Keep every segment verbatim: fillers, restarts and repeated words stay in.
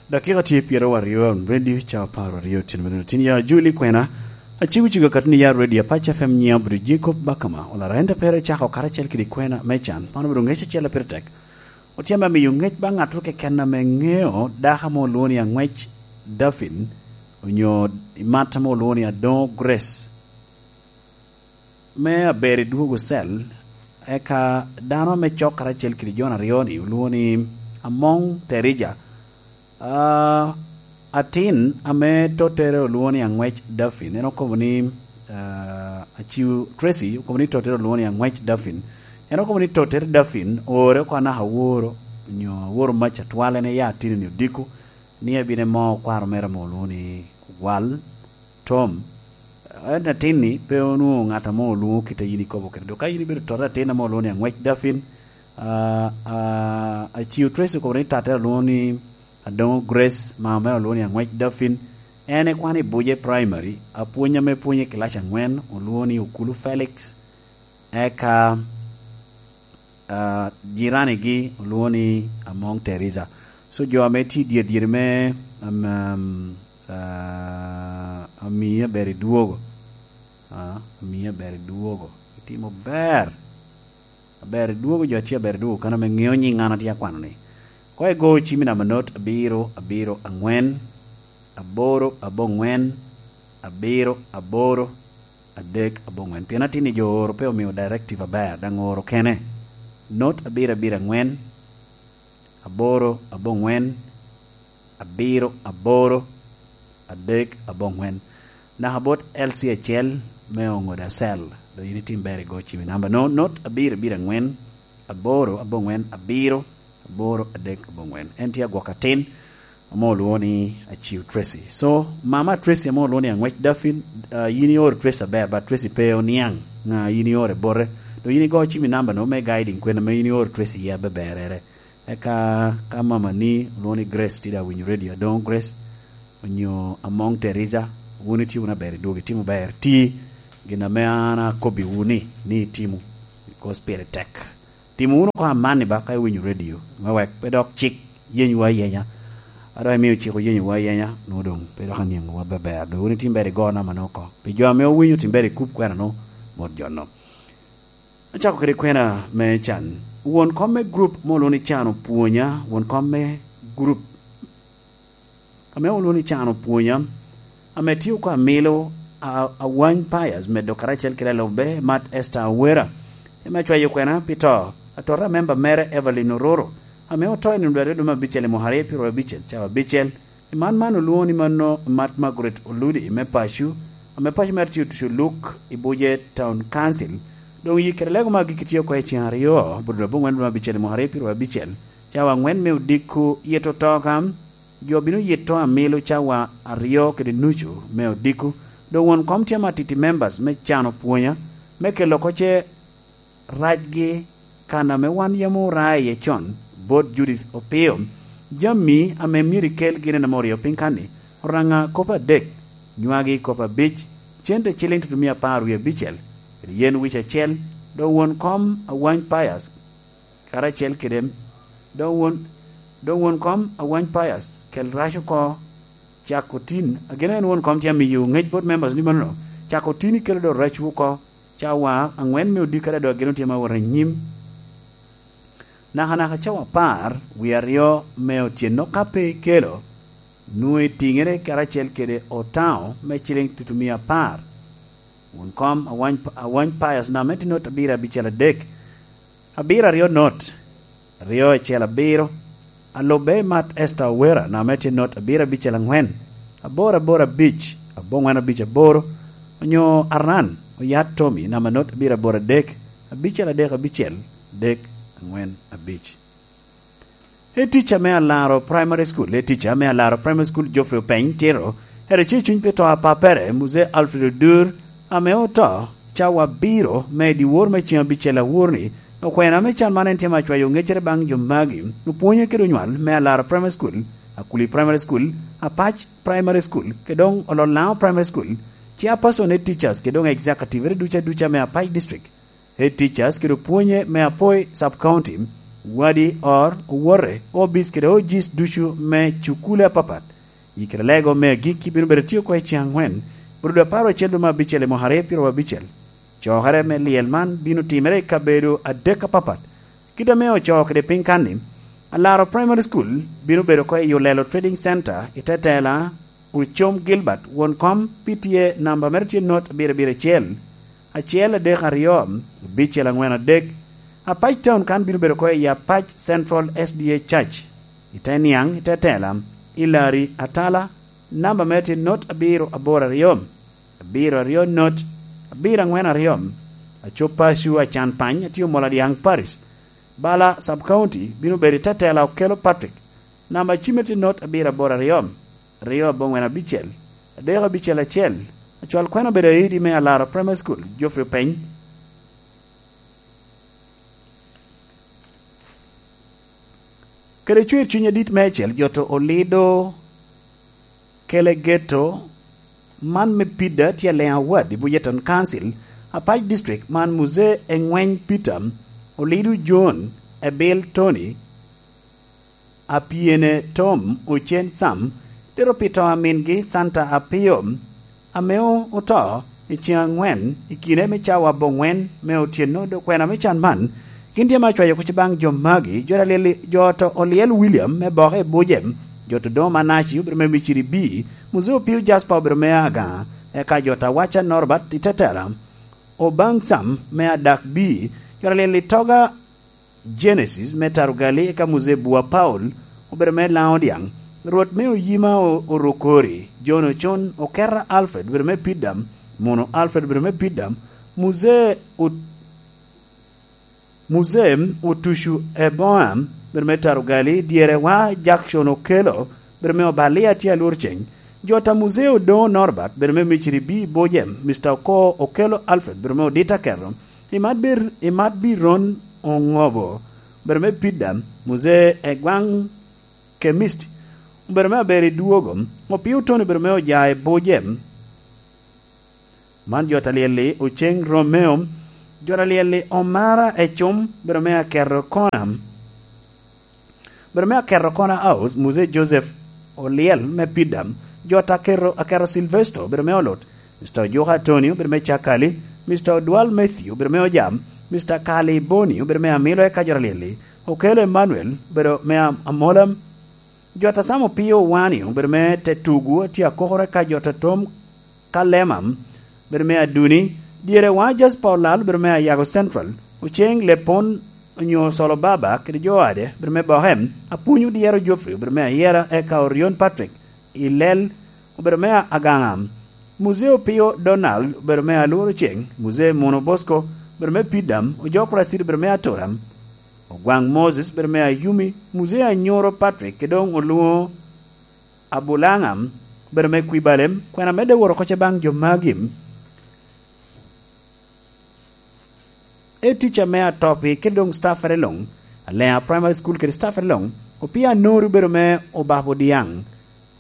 Dakika tye pyeraryo aryo, ready, ca apar aryo tyen mene tin ya Juli kwena. Acigo cigo katuni ya ready, Apac F M nyiŋa obedo Jacob Bakama, olara ente pere cako karacel kede kwena me can. Man obedo ŋec acel a pire tek. Otyema miyo ŋec ba ŋattoro keken ame ŋeo dako ame olwoŋo ni Aŋwec Daffin, onyo i mat ame olwoŋo ni Adoŋo Grace. Me aber i dwogo cell, eka dano ame cok karacel kede jo aryo-ni olwoŋo ni Amoŋ Terija. Ah, atin ame tottere olwoŋo ni Aŋwec Daffin, en okobo ni, ah, Aciu Tracy okobo ni tottere olwoŋo ni Aŋwec Daffin. En okobo ni tottere Daffin oore oko anaka aworo, onyo aworo mac atwal, en iya atin-ni odiko, ni ebino emo kwaro mere ame olwoŋo ni Ogwal. Tom, en atin-ni pe onwoŋo ŋat ame olwoŋo kit a yin ikobo kede. Dok ka yin ibedo tota atin ame olwoŋo ni Aŋwec Daffin, ah, ah, Aciu Tracy okobo ni tatte olwoŋo ni Adoŋo Grace, mama mere olwoŋo ni Aŋwec Daffin. En ekwano i Buje Primary, apwony ame pwonyo i kilac aŋwen, olwoŋo ni Okulu Felix. Eka, ah, jiranigi olwoŋo ni Amoŋ Teresa. So, jo ame tye i dyer dyeri me, am, am, ah, amii aber i dwogo. Ah, amii aber i dwogo. Itimo ber. Aber i dwogo, jo a tye aber i dwogo, kan ame ŋeo nyiŋ an atye akwano-ni. Koŋ igo cimmi namba not abiro, abiro, aŋwen, aboro, aboŋwen, abiro, aboro, adek, aboŋwen. Pien atin-ni jo oro pe omio directive aber, daŋ oro kene. Not abiro, abiro, aŋwen, aboro, aboŋwen, abiro, aboro, adek, aboŋwen. Naka bot L C acel me oŋo da cell. Dok yin itim ber igo cimmi namba no, not abiro, abiro, aŋwen, aboro, aboŋwen, abiro, aboro, adek, aboŋwen. En tye agwok atin ame olwoŋo ni Aciu Tracy. So, mama Tracy ame olwoŋo ni Aŋwec Daffin, ah, yin ioro Tracy aber, but Tracy pe oniaŋ ŋa yin ioro i bote. Dok yin igo cimmi namba no me guiding kwena ame yin ioro Tracy iye abeberere. Eka ka mamani olwoŋo ni Grace tye daŋ winyo radio, Adoŋo Grace, onyo Amoŋ Teresa, wun itye wunu aber i dwogo, itimo ber, ti gin ame an akobbiwu ni, ni itimo, because pire tek. Timo wunu oko amanni ba ka iwinyo radio, me wek pe dok cik yenywu ayenya. A dok imio cik oyenywu ayenya, nwoŋo doŋ pe dok aniaŋowu aber. Doŋ wun itim ber igo namba no oko. Pi jo ame owinyo, tim ber ikub kwena no bot jo no. Acako kede kwena me can. Won kom me group me olwoŋo ni Can Opwonya, won kom me group ame olwoŋo ni Can Opwonya, ame tye oko amilo a-, Awany Pius medo karacel kede alubbe Mat Esther Awera, ame acwayo kwena pi to, atota a memba mere Evelyn Ororo, ame oto i nino dwe aryo dwe me abicel i mwaka aryo pyeraryo abicel, cawa abicel. I man man olwoŋo ni mano Mat Margaret Oludi me paco, ame paco mere tye otuco Luk i Buje Town Council. Doŋ yik kede lego me agikki tye oko i ceŋ aryo, Abudu aboŋwen dwe me abicel i mwaka aryo pyeraryo abicel, cawa aŋwen me odiko yito to ka jo bino yito amilo cawa aryo kede nucu me odiko. Doŋ won kom tye ame atiti members me Can Opwonya me kelo oko ce racgi kan ame wan yam ora iye con bot Judith Opio, jami ame myero ikel gin en ame oryo piny kan-ni, oraŋa kop adek, nywagi kop abic, cente ciliŋ tutumia apar wie abicel, kede yen wic acel, dok won kom Awany Pius, karacel kede, dok won, dok won kom Awany Pius, kel rac oko, cako tin, ageno en won kom tye amiyo ŋec bot members ni manono, cako tin ikelo dok racwu oko, cawa aŋwen me odiko ada dok ageno tye ma wot anyim. Nakanaka cawa apar wie aryo me otyeno ka pe ikelo, nwoŋo itiŋere karacel kede otaŋo me ciliŋ tutumia apar. Won kom Awany, Awany Pius name tye not abiro abicel adek, abiro aryo not, aryo acel abiro, alubbe Mat Esther Owera name tye not abiro abicel aŋwen, aboro aboro abic, aboŋwen abic aboro, onyo Aran Oyat Tommy name not abiro aboro adek, abicel adek abicel, adek aŋwen abic. Head teacher me Alaro Primary School, head teacher me Alaro Primary School, Geoffrey Openy Tiro, ere ce cuny pi to a pappere, Mzee Alfred Odur, ame oto cawa abiro me dyewor me ceŋ abicel awor-ni, okwena me can man en tye ma cwayo ŋeccere baŋ jo magi, opwonye kede onywal me Alaro Primary School, Akuli Primary School, Apac Primary School, kede doŋ Olol Laŋo Primary School, chairperson head teachers kede doŋ executive ere duca duca me Apac District. Head teachers kede opwonye me Apoi Sub County, Wadi, or, owote, obis kede ojis ducu me cukule apapat. I kare lego me agikki bino bedo tye oko i ceng angwen, bro dwe apar acel dwe me abicel i mwaka aryo pyeraryo abicel. Cokere me lyel man bino timere i kabedo adek apapat. Kit ame ocoo kede piny kanni, Alaro Primary School bino bedo oko i Olelo Trading Center i te tela Ocom Gilbert, won kom pi tye namba mere tye not abiro abiro acel, acel adek aryo, abicel angwen adek. Apac Town kan bino bedo oko i Apac Central S D A Church, i te niaŋ, i te tela, i Lari Atala, namba mere tye not abiro aboro aryo, abiro aryo not, abiro angwen aryo. Acop paco acan pany atye Omol Adyaŋ Parish. Bala Sub County bino bedo i te tela Okello Patrick, namba cimme tye not abiro aboro aryo, aryo abongwen abicel, adek abicel acel. Acwal kwena obedo aidi me Alaro Primary School, Geoffrey Openy. Kede cwer cuny adit meicel, jo to olido kele geto man me pida tye Aleŋ Award i Bujeton Council, Apac District, man Muzee Eŋweny Peter, Olido John, Ebil Tony, Apyene Tom, Ocen Sam, tito pi to a mingi Santa Apio, ame o-, oto i ceŋ aŋwen i kine me cawa aboŋwen me otyeno, dok kwena me can man gin tye me acwayo kuc baŋ jo magi, jo alyel, jo to olyel William me Boke i Bujem, jo to doŋ Manaci obedo me Miciri B, Muzee Opio Jasper obedo me Agaŋa, eka jo to Awaca Norbert i Tetela, Obaŋ Sam me Adak B, jo alyel Itoga Genesis me Tarugali, eka Muzee Bua Paul obedo me Laŋo Dyaŋ, Rwot me Oyima o-, Orokori, John Ocon, Okera Alfred obedo me Pidam, Muno Alfred obedo me Pidam, Muzee Ot-, Muzee Otucu Eboam, bedo me Tarugali, dyere wa Jackson Okello, bedo me Obalia tye alwor ceng. Jo ta Muzee Odoŋo Norbert, bedo me Miciri B Bojem, Mister Oko Okello Alfred, bedo me Odita Keto, Imat Bir-, Imat Biron Oŋobo, bedo me Pidam, Muzee Egwaŋ Kemist, bedo me Aberi Dwogo, Opio Tony, bedo me Ojae Bojem. Man jo ta lyel-li, Oceng Romeo, jo ta lyel-li, Omara Ecum, bedo me Aketo Kona, bedo me Aketo Kona House, Muzee Joseph Olyel me Pidam, jo ta Aketo, Aketo Silvesto, bedo me Olot, Mister Ojuka Antonio, bedo me Cakali, Mister Odwal Matthew, bedo me Ojam, Mister Kali Boni, bedo me Amilo, eka jo ta lyel-li, Okello Emmanuel, bedo me Am-, Amolam, Jo ta Sam Opio Wani obedo me te tugu, atye akokoro, eka jo ta Tom Kalema obedo me Aduni, dyere wa Jasper Olal obedo me Ayago Central, Oceng Lepon onyo Solo Baba kede jo ade obedo me Boke, Apwony Odyero Geoffrey obedo me Ayera, eka Orion Patrick Ilel obedo me Agaŋa, Muzee Opio Donald obedo me Alworo Ceng, Muzee Muno Bosco obedo me Pidam, Ojok Racid obedo me Atoram, Ogwaŋ Moses bedo me Ayumi, Muzee Anyoro Patrick, ke doŋ olwoŋo Abulaŋa bedo me Kwibalem, kwena medde wot oko ce baŋ jo magi. E tica me atopi kede doŋ staffere luŋ, Aleŋa Primary School kede staffere luŋ, Opio Anori obedo me Obabo Dyaŋ,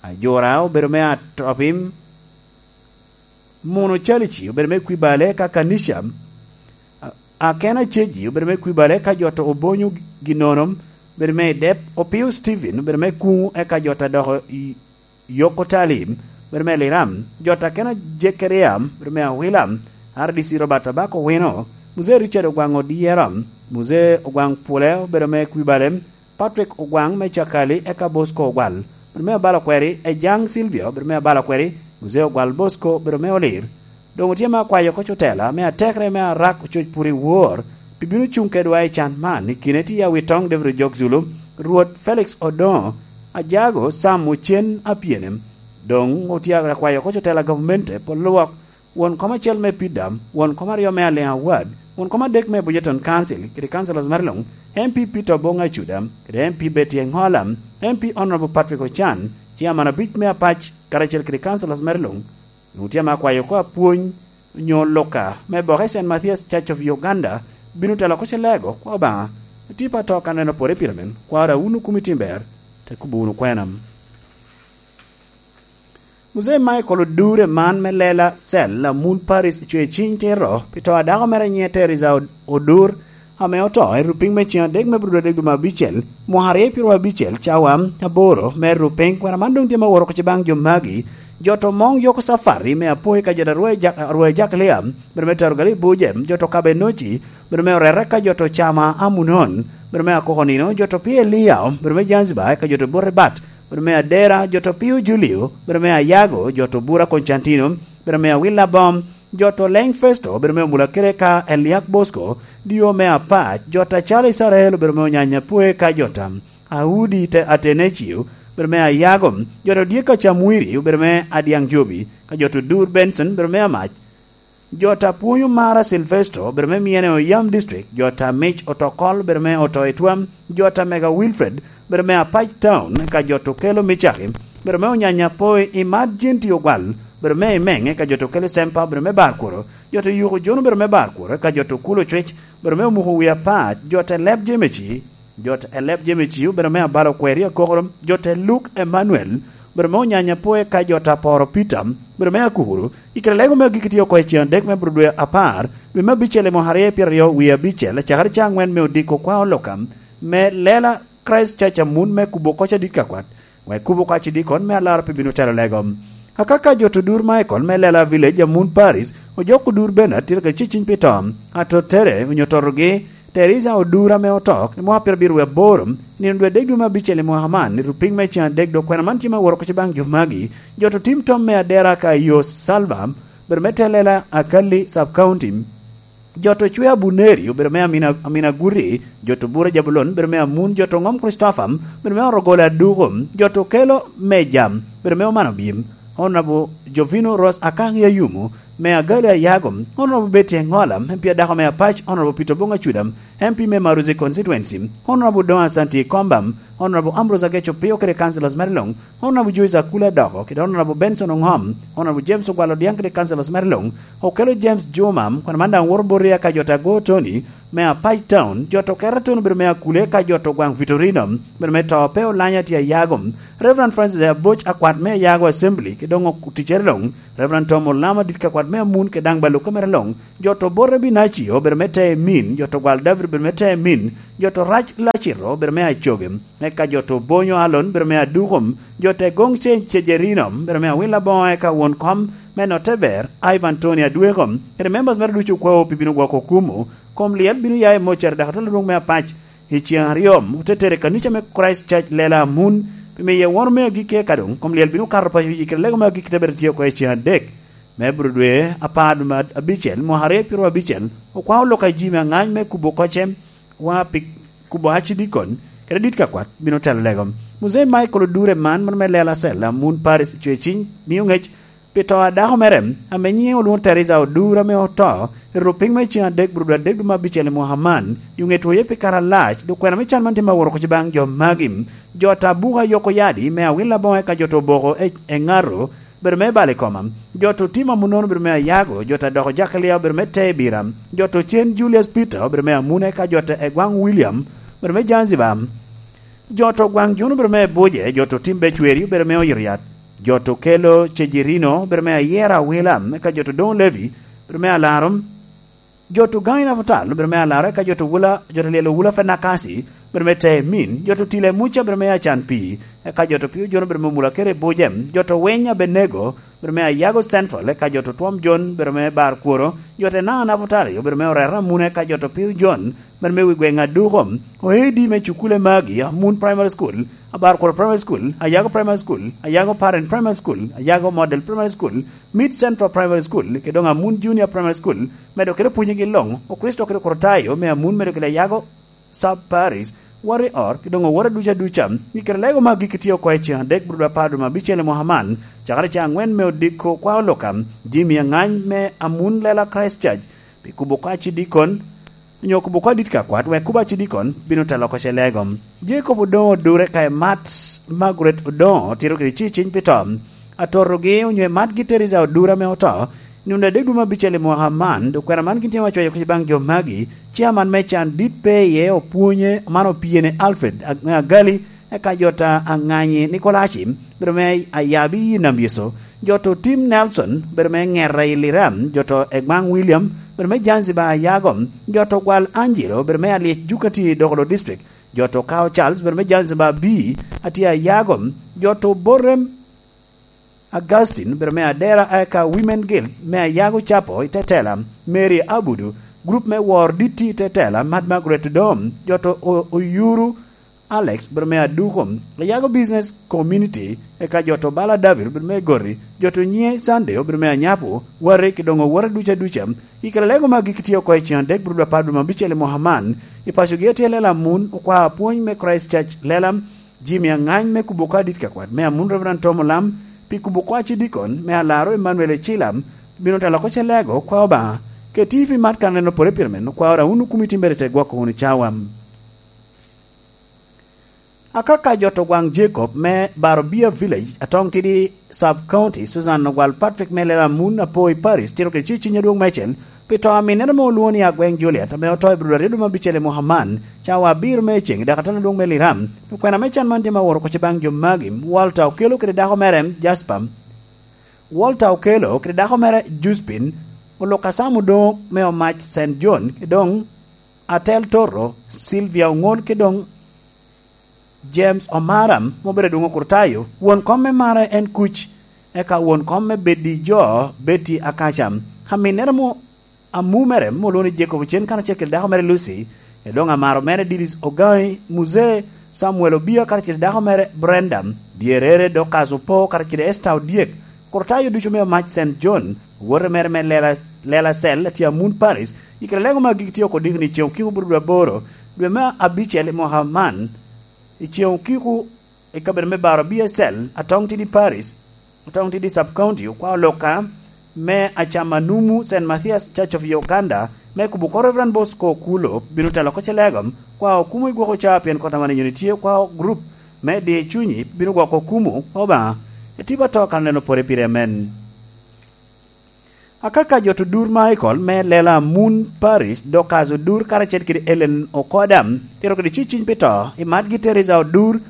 Ajura obedo me atopi, Muno Calici obedo me Kwibale ka Kanisha, a-, Akena Ceji obedo me Kwibale ka jo to Obonyo Ginono obedo me Idep, Opio Steven obedo me Kuŋu, eka jo ta doko i Yoko Talim obedo me Liram, jo ta Akena Jekaria obedo me Awila, R D C Robert Abako Wino, Muzee Richard Ogwaŋ Odyera, Muzee Ogwaŋ Pule obedo me Kwibale, Patrick Ogwaŋ me Cakali, eka Bosco Ogwal, bedo me Abalo Kweri, Ejaŋ Silvia, bedo me Abalo Kweri, Muzee Ogwal Bosco, bedo me Olir. Doŋ otye me akwayo oko cotela me atekere me Arak Ococ Puri Wor, pi bino cuŋ kedwa i can man, i kine tye Awitoŋ David Ojok Zulu, Rwot Felix Odoŋo, Ajago Sam Ocen Apyene. Doŋ otye akwayo oko cotela gavmente pol lwok, won kom acel me Pidam, won kom aryo me Aleŋa Ward, won kom adek me Bujeton Council, kede councilors mere luŋ, M P Peter Obong Acuda, kede M P Betty Eŋola, M P Honorable Patrick Ocan, chairman abic me Apac, karacel kede councilors mere luŋ. Onwoŋo tye ame akwayo oko apwony, onyo luka, me boke Saint Matthias Church of Uganda, bino telo oko ce lego, kwa Obaŋa, tipo ato ka neno pore pire men, kwa da wunu kumi timber, te kubo wunu kwena. Muzee Michael Odure man me Lela Cell, Amun Paris, ocwe ciny tito pi to a dako mere nyiŋe Teresa Od-, Odur, ame oto i rupiny me cen adek me brudo adek dwe me abicel, mwaka aryo pyero abicel, cawa aboro me rupiny. Kwena man doŋ tye me woro oko baŋ jo magi. Jo to moŋ yoko Safari me Apoi ka jo to Arwai Jak-, Arwai Jakalia, bene me Tero Gali Buje, jo to Kabe Noci, bene me Orere ka jo to Cama Amunon, bene me Akoko Nino, jo to Pie Elia, bene me Zanzibar ka jo to Bote Bat, bene me Adera, jo to Pio Julio, bene me Ayago, jo to Bura Constantino, bene me Awila Bom, jo to Leng Festo, bene me Omula Kere ka Eliak Bosco, dio me Apac, jo to Acalo Isarael, bene me Onyanya Pwe ka jo to Audi te Atenecio, bene me Ayago, jo to Dieka Camwiri, bene me Adiaŋ Jobi, ka jo to Dur Benson, bene me Amac, jo to Apwonyo Mara Silvesto, bene me Miene Oyam District, jo to Mic Otokol, bene me Oto Etwam, jo to Mega Wilfred, bene me Apac Town, ka jo to Kelo Micaki, bene me Onyanya Poi, Imat Jenti Ogwal, bene me Imeng, ka jo to Kelo Sempa, bene me Bar Kuro, jo to Yuko Jono, bene me Bar Kuro, ka jo to Kulo Cwec, bene me Omuko Wi Apac, jo to Leb Jemeci, jo to Eleb Jemeci, bene me Abalo Kweri Akokoro, jo to Luk Emmanuel, bene me Onyanya Poi, ka jo to Aporo Peter, bene me Akukuru, I kare lego me agikki tye oko i cen adek me bur dwe apar, dwe me abicel i mwaka aryo pyeraryo wie abicel, cakere ca aŋwen me odiko kwa oloka, me lela Christ Church Amun me kubo koc adit ka kwat, wek kubo koc i dikon me alara pe bino telo lego. Akaka jo to dur Michael me lela Village Amun Paris, ojok odur Bernard tye kede ciciny pi to, ato tere onyo totogi, Teresa Odura ame oto i mwaka pyerabiro wie aboro, nino dwe adek dwe me abicel i mwaka man, i rupiny me cen adek dok kwena man tye me woro koc baŋ jo magi, jo to tim tom me adera ka yo Salva, bedo me Telela Akali Sub County, jo to cwe Abuneri, obedo me Amina, Amina Guri, jo to Bura Jabulon, bedo me Amun, jo to Ngom Christopher, bedo me Orogole Aduko, jo to Kelo Meja, bedo me Omano Bim, Honorable Jovino Ross Akang Yayumu, me Agali Ayago, Honorable Betty Engola, M P adako me Apac, Honorable Peter Bonga Cuda, M P me Maruzi Constituency, Honorable Don Asanti Komba, Honorable Ambrose Ageco Pio kede councillors mere luŋ, Honorable Joyce Akula Doko kede Honorable Benson Ongom, Honorable James Ogwal Odiaŋ kede councillors mere luŋ, Okelo James Juma, kwena man daŋ woto bot ria ka jo to Ago Tony, me Apac Town, jo to Kera Town obedo me Akule ka jo to Gwaŋ Vitorino, obedo me to pe olanya tye Ayago, Reverend Francis Aboc akwat me Ayago Assembly, kede doŋ oticere luŋ, Reverend Tom Olama dit ka kwat me Amun kede daŋ Baluka mere luŋ, jo to Borre Binacio obedo me te Emin, jo to Gwal David obedo me te Emin, jo to Rac Lacito obedo me Acoge, eka jo to Bonyo Alon obedo me Adukom, jo to Egoŋ Ce-, Cejerino obedo me Awila Boŋo, eka won kom me Noteber, Ivan Tony Adweko, kede members mere ducu okwao pi bino gwoko kumo, kom lyel bino ya i Mocer dok atelo lwong me Apac, i ceŋ aryo, ote tere i kanica me Christ Church Lela Amun, pi miye wono me agikki eka doŋ kom lyel bino kato paco i kede lego me agikki te bedo tye oko i ceŋ adek. Me bro dwe apar dwe me abicel, mwaka aryo pyeraryo abicel, okwao lok a ji me aŋany me kubo kocce, wa pi kubo acidikon, kede dit ka kwat bino telo lego. Muzei Michael Odure man, man me Lela Cell, Amun Paris, cwe ciny, mio ŋec pi to a dako mere, ame nyiŋe olwoŋo Teresa Odura, ame oto i rupiny me ceŋ adek bro dwe adek dwe me abicel i mwaka man, i oŋe twoye pi kare alac, dok kwena me can man tye me woro kuc baŋ jo magi. Jo ta buka yoko yadi me Awila Boŋo eka jo to Boko e, e Ŋaro, bedo me balo i koma. Jo to Tim Amunon obedo me Ayago, jo ta doko Jakalia obedo me Tebira, jo to Cen Julius Peter obedo me Amune, eka jo ta Egwaŋ William obedo me Zanzibar. Jo to Gwaŋ Juno obedo me Buje, jo to Tim Becweri obedo me Oyiriat, jo to Kelo Cejirino obedo me Ayera Awila, eka jo to Doŋ Levi obedo me Alaro. Jo to Gaŋ i Naputal obedo me Alaro, eka jo to Wula, jo to Lyel Owula Fenakasi obedo me Temin, jo to Tile Muca obedo me Acan Pii, eka jo to Pio Jon obedo me Mula Kere Buje, jo to Weny Abenego obedo me Ayago Central, eka jo to Twom Jon obedo me Bar Kworo, jo to Naŋ Naputal obedo me Orera Mune, eka jo to Pio Jon obedo me Wi Gweŋ Aduko, oedi me Cukule Magi, Amun Primary School, Abar Kworo Primary School, Ayago Primary School, Ayago Parent Primary School, Ayago Model Primary School, Mid Central Primary School, kede doŋ Amun Junior Primary School, medo kede pwonyegi luŋ, Okricito kede Okrutayo me Amun medo kede Ayago Sub Parish, Warrior, kede doŋ oworo ducu aduca, i kare lego ma agikki tye oko i ceŋ adek bro dwe apar dwe me abicel i mwaka man, cakere ceŋ aŋwen me odiko kwa oluka, jami aŋany me Amun Lela Christ Church, pi kubo kwa cidikon, onyo kubo kwa dit ka kwat, wek kubo acidikon bino telo oko ce lego. Jacob Odoŋo Odure ka Emat Margaret Odoŋo tito kede ci ciny pi to. Atotogi onyo Emat gi Teresa Odure ame oto, nino adek dwe me abicel i mwaka man, dok kwena man gin tye ma cwayo kuc baŋ jo magi, ciaman me can dit pe iye opwonye man opyene Alfred Ag-, Agali, eka jo ta Aŋanyi Nikolaci, bedo me Ayabi i Nam Yecu, jo to Tim Nelson, bedo me Ŋera i Liram, jo to Egbaŋ William, bedo me Zanzibar Ayago, jo to Gwal Angelo, bedo me Alyec Jukati Dokolo District, jo to Kao Charles, bedo me Zanzibar B, atye Ayago, jo to Borem Augustine, bedo me Adera, eka Women Guild me Ayago Capo i Tetela, Mary Abudu, group me Wor Ditti i Tetela, Mad Margaret Dom, jo to O-, Oyuru, Alex, bedo me Aduko, Ayago Business Community, eka jo to Bala David, bedo me Gori, jo to Nye Sunday, bedo me Anyapo, Wari, ki doŋ owote duca duca. I kare lego magi kitye oko i cen adek, bedo dwe apar dwe me abicel i mwaka man, i pacogi atye Lela Amun, okwa apwony me Christ Church Lela, Jimmy Angany me kubo ka dit kakwat me Amun, Reverend Tom Olam, pi kubo kwa ci dikon me Alaro Emmanuel Ecila, bino telo oko ce lego, kwa Obaŋa, keti pi mat kan en opore pire men, kwa ora wunu kumi timbere te gwoko wunu cawa. Akaka jo to gwaŋ Jacob me Barobia Village, Atong Tidi Sub County, Susan Ogwal Patrick me Lela Amun Apoi Parish, tito kede ci ciny adwoŋ mecel, pi to aminnere ame olwoŋo ni Agweng Juliet, ame oto i Abril aryo dwe me abicel i mwaka man, cawa abiro me ceŋ, i dakatala adwoŋ me Liram. Okwena me can man tye ma oworo kocci baŋ jo magi, Walter Okello kede dako mere, Jasper. Walter Okello kede dako mere, Juspin, Oluka Sam Odongo me Omac Saint John, ki doŋ Atel Toro, Sylvia Oŋol, ki doŋ James Omara, ma obedo adwoŋ okrutayo, won kom me Mara en Kuc, eka won kom me Bedi Jo, Betty Akaca, aminnere mo amumere, ma olwoŋo ni Jacob Ocen, karacel kede dako mere Lucy, e doŋ amaro mere Didis Ogai, Muzee Samuel Obia, karacel kede dako mere Brenda, dyerere Dorcas Opo, karacel kede Esther Odyek, okrutayo ducu me Omac Saint John, owote mere me Lela, Lela Cell, atye Amun Paris, i kare lego magi kitye oko diki ni ceŋ okiko bro dwe aboro, dwe me abicel i mwaka man, i ceŋ okiko i kabedo me Baro B S L, Atong Tidi Parish, Atong Tidi Sub County, okwa oloka me Acamanumu Saint Matthias Church of Uganda, me kubo ko Reverend Bosco Okulo, bino telo oko ce lego, kwa okumo i gwoko ca pien kota man inyoni tye kwa group me di cunyi, bino gwoko okumo Obaŋa. Etiba to kan en opore pire amen. Akaka jo to Dur Michael me Lela Amun Parish, Dorcas Odur karacel kede Ellen Okoda, tito kede ci ciny pi to, i matgi Teresa Odur.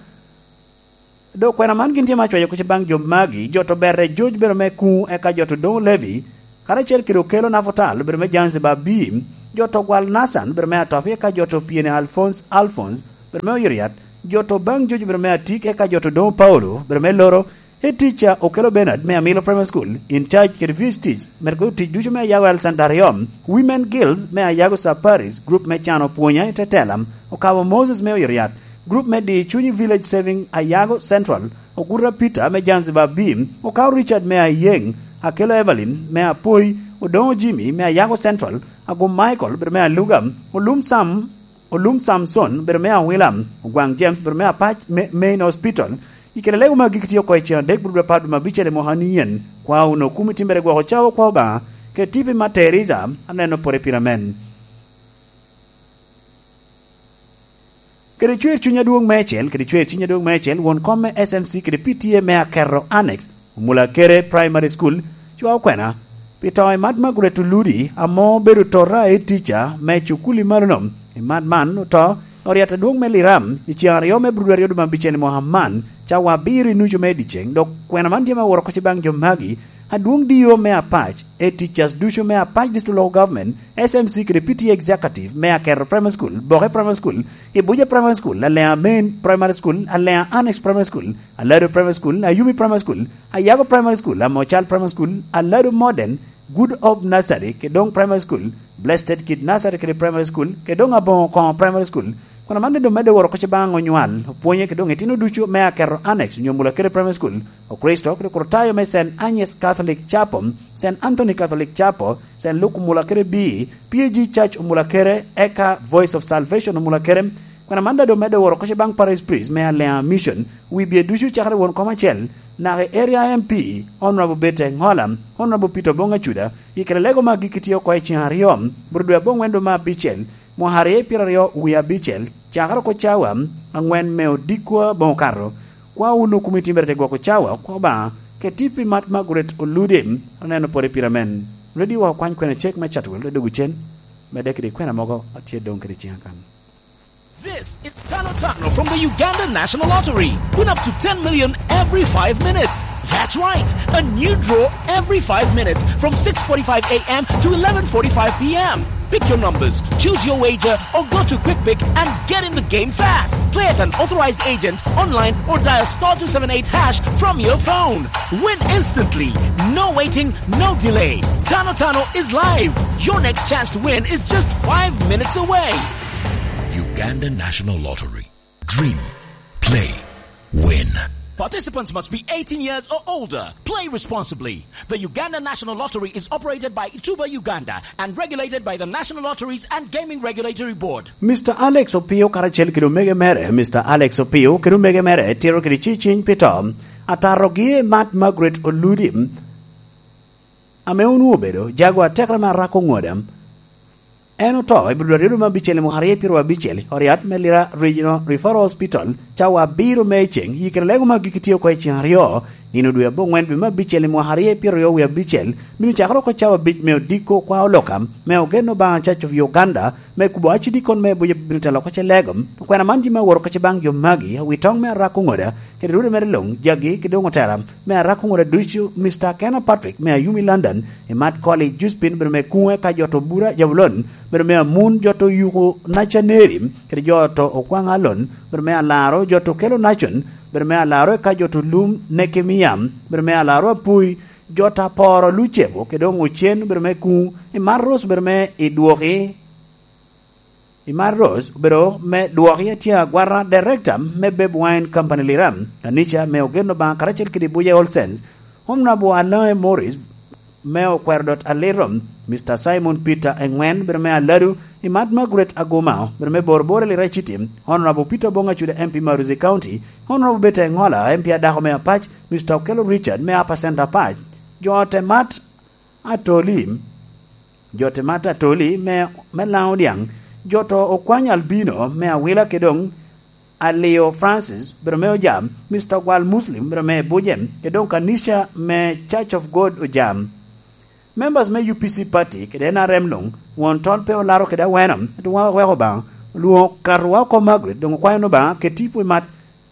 Dok kwena man gin tye ma cwayo kuc baŋ jo magi, jo to Berre George bedo me Kuŋ, eka jo to Doŋo Levi, karacel kede Okello Nafotal bedo me Zanzibar B, jo to Gwal Nathan bedo me Atopi, eka jo to Piene Alphonse, Alphonse bedo me Oyoriat, jo to baŋ George bedo me Atik, eka jo to Doŋo Paulo bedo me Loro, Head teacher Okello Bernard me Amilo Primary School, in charge kede V H Ts, medo kede otic ducu me Ayago Alexander Ariom, Women Guilds me Ayago Sub Parish, group me Cano Pwonya i Tetela, Okabo Moses me Oyoriat, group me Di Cunyi Village Saving Ayago Central, Oguta Peter me Zanzibar B, Okao Richard me Ayeng, Akello Evelyn me Apoi, Odongo Jimmy me Ayago Central, Agum Michael bedo me Aluga, Olum Sam Olum Samson bedo me Awila, Ogwaŋ James bedo me Apac, me, Main Hospital. I kare lego magi kitye oko i cen adek, bro dwe apar dwe me abicel i mwaka ni yen. Kwa wunu okumi timbere gwoko cawa kwa Obaŋa, kede tipi ma Teresa, aneno pore pire amen. Kede cwer cuny adwoŋ meicel, kede cwer cuny adwoŋ meicel, won kom me S M C kede P T A me Akerro Annex, Omulakere Primary School, cwa okwena, pi to i Mad Margaret Oludi, ame obedo tota i tica me cukuli malono. I Mad man oto, oryet adwoŋ me Liram, i ceŋ aryo me Abril aryo dwe me abicel i mwaka man, cawa abiro i nucu me dyeceŋ, dok kwena man tye me woro kocci baŋ jo magi, adwoŋ D O me Apac, e teachers ducu me Apac District Local Government, S M C kede P T A Executive me Akerro Primary School, Boke Primary School, Ibuja Primary School, Aleŋa Main Primary School, Aleŋa Annex Primary School, Alado Primary School, Ayumi Primary School, Ayago Primary School, Amocal Primary School, Alado Modern, Good Hope Nursery, Kedong Primary School, Blessed Kid Nursery kede Primary School, Kedong Aboŋo Koŋo Primary School. Kono man doŋ medde woro kocci baŋ onywal, opwonye Kedong itino ducu me Akerro Annex, onyo Mulakere Primary School, Okristo, kede Okrutayo me Saint Agnes Catholic Chapel, Saint Anthony Catholic Chapel, Saint Luke Omulakere B, P A G Church Omulakere, eka Voice of Salvation Omulakere. Kono man doŋ medde woro kocci baŋ Parish Priest me Aleŋa Mission, wi bye ducu cakere won kom acel, naka i Area M P, Honorable Bete Ŋola, Honorable Peter Oboŋ Acuda, i kare lego magi kitye oko i ceŋ aryo, bro dwe aboŋwen dwe me abicel, mwaka aryo i pyeraryo wie abicel, cakere oko cawa aŋwen me odikwa boŋ okato. Kwa wunu kumi timbere te gwoko cawa, kwa Obaŋa, keti pi Mad Margaret Oludi, aneno pore pire amen. Ready wa okwany kwena cek me Chatwell, dok dwogo cen, medde kede kwena mogo atye doŋ kede ciŋa kan. This is Tano Tano from the Uganda National Lottery. Win up to ten million every five minutes. That's right, a new draw every five minutes from six forty-five a m to eleven forty-five p m. Pick your numbers, choose your wager, or go to Quick Pick and get in the game fast. Play at an authorized agent, online, or dial star two seven eight hash from your phone. Win instantly. No waiting, no delay. Tano Tano is live. Your next chance to win is just five minutes away. Uganda National Lottery. Dream, play, win. Participants must be eighteen years or older. Play responsibly. The Uganda National Lottery is operated by Tuba Uganda and regulated by the National Lotteries and Gaming Regulatory Board. Mister Alex Opio karacel kede omege mere, Mister Alex Opio kede omege mere tito kede ciciny pi to. Atarogi Mat Margaret Oludi, ame onwoŋo obedo jago atekere me Arako Ŋoda. En oto i Bulu aryo dwe me abicel i mwaka aryo pyeraryo abicel, oriat me Lira Regional Referral Hospital, cawa abiro me iceng, yi kede lego me agikki tye oko i ceng aryo, nino dwe aboŋwen dwe me abicel i mwaka aryo pyeraryo wie abicel, bino cakere oko cawa abic me odiko kwa oloka, me ogen Obaŋa Church of Uganda, me kubo acidikon me buc bino telo oko ce lego. Okwena man jami aworo oko ce baŋ jo magi, awi toŋ me Arako Ŋoda, kede rwode mere luŋ, jagi, kede doŋ otera, me Arako Ŋoda ducu, Mister Kena Patrick, me Ayumi London, i Mat Koli, Juspin, bedo me Kuŋe, ka jo to Bura, Jabulon, bedo me Amun, jo to Yuko, Nacaneri, kede jo to Okwaŋ Alon, bedo me Alaro, jo to Kelo Nacon, bedo me Alaro, ka jo to Lum, Nekemia, bedo me Alaro Apui, jo to Aporo Lucebo, kede doŋ Ocen, bedo me Kuŋ, i Mar Ros, bedo me Idwoki, i Mar Ros, obedo me Dwoki Atye Agwata, Director me Beb Wine Company Lira, Kanica me Ogen Obaŋa karacel kede Buye Olsens, Honorable Alaŋe Morris, me Okwero Dot Aliro, Mister Simon Peter Eŋwen, bedo me Aladu, i Mat Margaret Aguma, bedo me Boroboro Lira City, Honorable Peter Bonga Cuda M P Maruzi County, Honorable Beta Eŋola, M P Adako me Apac, Mister Okello Richard, me Upper Centre Apac, jo te Mat Atoli, jo te Mat Atoli me, me Laŋo Diaŋ, jo to Okwany Albino me Awila kede doŋ Alio Francis, bedo me Ojam, Mister Ogwal Muslim, bedo me Buje, kede doŋ Kanica me Church of God Ojam. Members me U P C party kede N R M luŋ, won tol pe olaro kede aweno, ento wan waweko Obaŋa, olwoŋo katowa oko Margaret, doŋ okwayo ni Obaŋa ket tipo i Mat,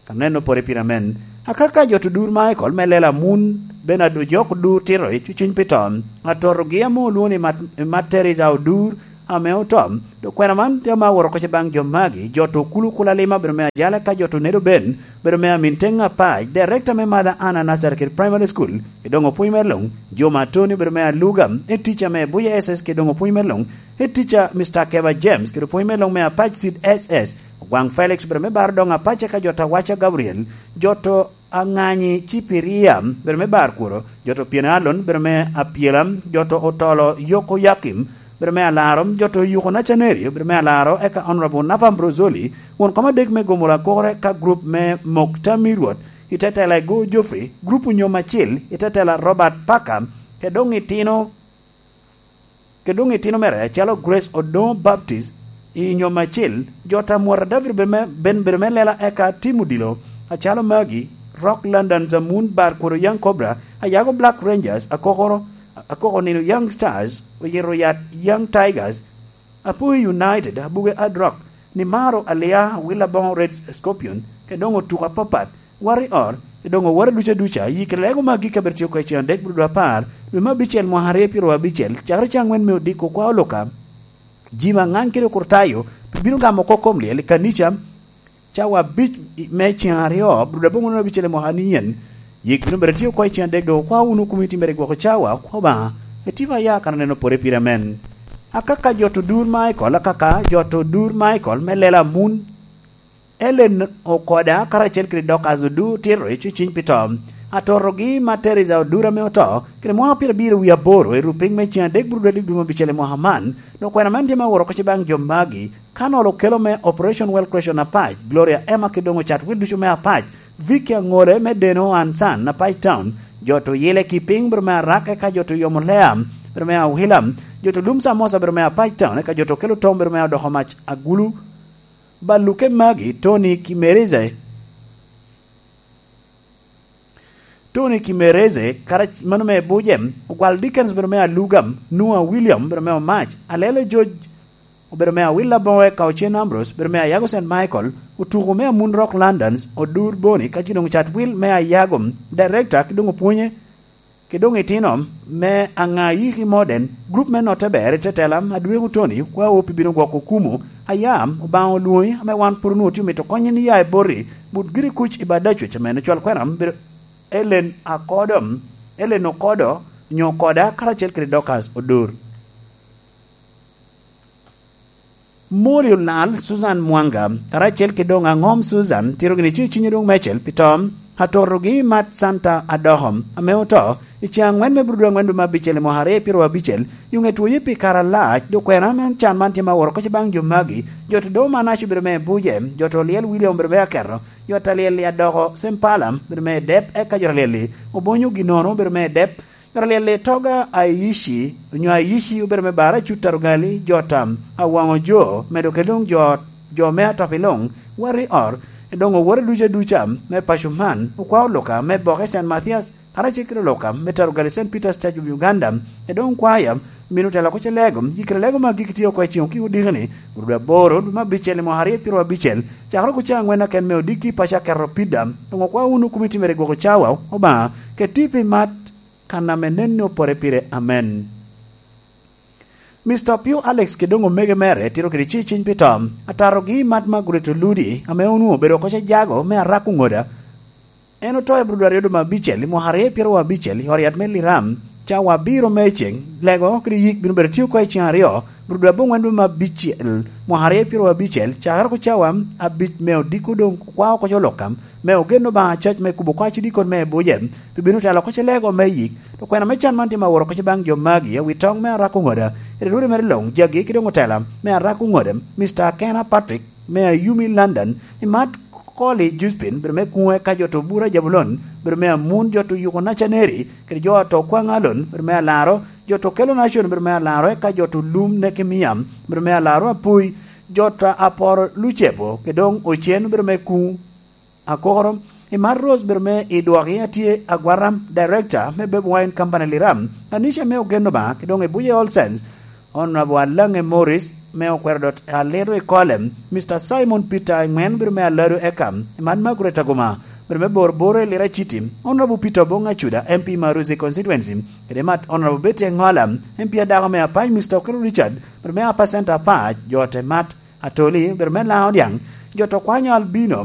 ka neno pore pire amen. Akaka jo to Dur Michael me Lela Mun, Bernard Ojok Dur Tiro i cuciny pi to, atotogi ame olwoŋo ni Mat-, Mat Teresa Odur, ame oto. Dok kwena man tye ame aworo oko ce baŋ jo magi, jo to Kulu Kula Lima, bedo me Ajala, ka jo to Nedo Ben, bedo me Amin Teŋ Apac, Director me Mother Anna Nursery kede Primary School, i doŋ opwony me luŋ, Juma Tony, bedo me Aluga, e teacher me Buya S S kede doŋ opwony me luŋ, e teacher Mister Keba James, kede opwony me luŋ me Apac Seed S S, Ogwaŋ Felix, bedo me Bar Doŋ Apac, ka jo to Awaca Gabriel, jo to Aŋanyi Cipiria, bedo me Bar Kuro, jo to Piene Alon, bedo me Apyela, jo to Otolo Yoko Yakim, bedo me Alaro, jo to Yuko Nacanerio, bedo me Alaro, eka Honorable Nafa Ambrozoli, won kom adek me Gomola Kokore ka group me Mok Tam i Rwot, i tetela i Go Geoffrey, group Onyom Acil, i tetela Robert Parker, kede doŋ itino, kede doŋ itino mere acalo Grace Odoŋo Baptist, i Onyom Acil, jo ta Mwara David bedo me, ben bedo me Lela, eka Tim Odilo, acalo Magi, Rock London Zamun, Bar Kuro Young Cobra, Ayago Black Rangers, Akokoro, Akoko Nino Young Stars, Oyito Yat Young Tigers, Apuyi United, Abuge Hard Rock, Nimaro Alia, Willa Bongo Red Scorpion, kede doŋ otuko apapat, Warrior, kede doŋ oworo duca duca, yi kede lego magi ka bedo tye oko i cen adek bulu dwe apar, dwe me abicel mwaka aryo pyeraryo abicel, cakere cen aŋwen me odiko kwa oluka. Ji ma ŋany kede okurtayo, bino gamo oko kom lyel i kanica, cawa abic me cen aryo, bulu dwe aboŋwen abicel i mwaka ni yen. Yik bino bedo tye oko i cen adek, dok okwa wunu komiti mere i gwoko cawa, okwa Obaŋa, etipa ya kan aneno pore pire amen. Akaka jo to Dur Michael, akaka jo to Dur Michael me Lela Mun, Ellen Okoda, karacel kede Dorcas Odur Tiro i cuciny pi to. Atorogi ma Teresa Odur ame oto, kede mwaka pyerabiro wie aboro, i rupiny me cen adek bulu dwe dwe me abicel i mwaka man, dok kwena man tye ma oworo oko ce baŋ jo magi, ka nolo kelo me Operation Well Creation Apac, Gloria Emma kede doŋ ocat wil ducu me Apac, Vicky Aŋole me Deno Ansan Apac Town, jo to Yile Kiping bedo me Arak, eka jo to Yomo Lea bedo me Awila, jo to Lum Samosa bedo me Apac Town, eka jo to Kelo Tom bedo me Odoko Mac Agulu, Baluke magi, Tony Kimereze, Tony Kimereze, kara-, mano me Bujem, Ogwal Dickens bedo me Alugam, Noah William bedo me Omac, Alele George obedo me Awil Aboŋo eka Ocen Ambrose, obedo me Ayago Saint Michael, otuko me Amun Rock Londons, Odur Boni, ka ci doŋ Cat Will me Ayago, director, ki doŋ opwonye, ki doŋ itino me Aŋa Yiki Modern, group me Notte Ber i tetela, Adweko Tony, kwa opi bino gwoko kumo, aya, Obaŋa olwoŋi, ame wan pwod onwoŋo tye omito konyi ni ya i boti, but giri kuc i Badacwec, ame en ocwal kwena, bedo Ellen Akodo, Ellen Okodo, nyo Okoda, karacel kede Dorcas Odur. Moli olal Susan Mwanga, karacel ki doŋ aŋom Susan, tito gini ci cinye doŋ mecel pi tom, atotogi Mat Santa Adoho, ame oto, i ceŋ aŋwen me Burudu aŋwen dwe me abicel i mwaka aryo pyero abicel, i oŋe twoye pi kare alac, dok kwena me can man tye ma woro koc baŋ jo magi, jo to doŋ man aco bedo me buje, jo to lyel William bedo me aketo, jo ta lyel i Adoko Sempala bedo me dep, eka jo ta lyel i Obonyo Ginono bedo me dep, Raliel i Toga Aishi, onyo Aishi obedo me bara cut Tarugali, jo tam, awaŋo jo, medo ke luŋ jo, jo me atop i luŋ, wari or, doŋ owote ducu aduca me paco man, okwao Luka me boke Saint Mathias, karacel kede Luka me Tarugali Saint Peter's Church of Uganda, e doŋ kwaya, mino tela ko ce lego, yikere lego ma gik tye oko i ciŋ okiko diki ni, gudo aboro, dwe me abicel i mwaka aryo pyero abicel, cakere ko ca aŋwen aken me odiki paco aketo pida, doŋ okwao wunu komiti mere gwoko cawa, Obaŋa, ke tipi mat, kan ame nen ni opore pire. Amen. Mister Opio Alex kede doŋ omege mere tito kede ci ciny pi tom, atatogi i mat Margaret Oludi, ame onwoŋo obedo oko ce jago me Arak Oŋoda. En oto i Abril aryo dwe me abicel, i mwaka aryo pyero abicel, i ot yat me Liram, cawa abiro me ceng, lego kede yik bino bedo tye oko i ceng aryo, Abril dwe aboŋwen dwe me abicel, mwaka aryo pyero abicel, cakere ko cawa abic me odiko doŋ kwao oko co Lukam, me ogen Obaŋa cac me kubo kwaci dikon me Ebuje, pi bino telo oko ce lego me yik, to kwena me can man tye ma woro oko ce baŋ jo magi, awi toŋ me Arak Oŋoda, kede rwode mere luŋ, jagi ki doŋ otela me Arak Oŋoda, Mister Akena Patrick, me Ayumi London, i mat Koli Juspin, bedo me kuŋe ka jo to Bura Jabulon, bedo me Amun jo to Yuko Nacaneri, kede jo to Kwaŋalon, bedo me Alaro, jo to Kelo Nacon, bedo me Alaro, eka jo to Lum Nekemia, bedo me Alaro Apui, jo to Aporo Lucepo, kede doŋ Ocen, bedo me kuŋ Akoro, i Mar Rose bedo me i dwoki atye Agwaram, director me Beb Wine Company Liram, Anisha me Ogeno Obaŋa, ki doŋ i Buye All Sense, Honorable Alange Morris me Okwero dot Aliro i Kolem, Mister Simon Peter Engwen bedo me Alado Ekam, i man Margaret Aguma bedo me Bor Boro i Lira City, Honorable Peter Obong Acuda, M P Maruzi Constituency, kede mat Honorable Betty Engola, M P adako me Apac, Mister Okero Richard bedo me Apa Center Apac, jo te mat Atoli bedo me Laŋo Diaŋ, jo to kwanyo Albino,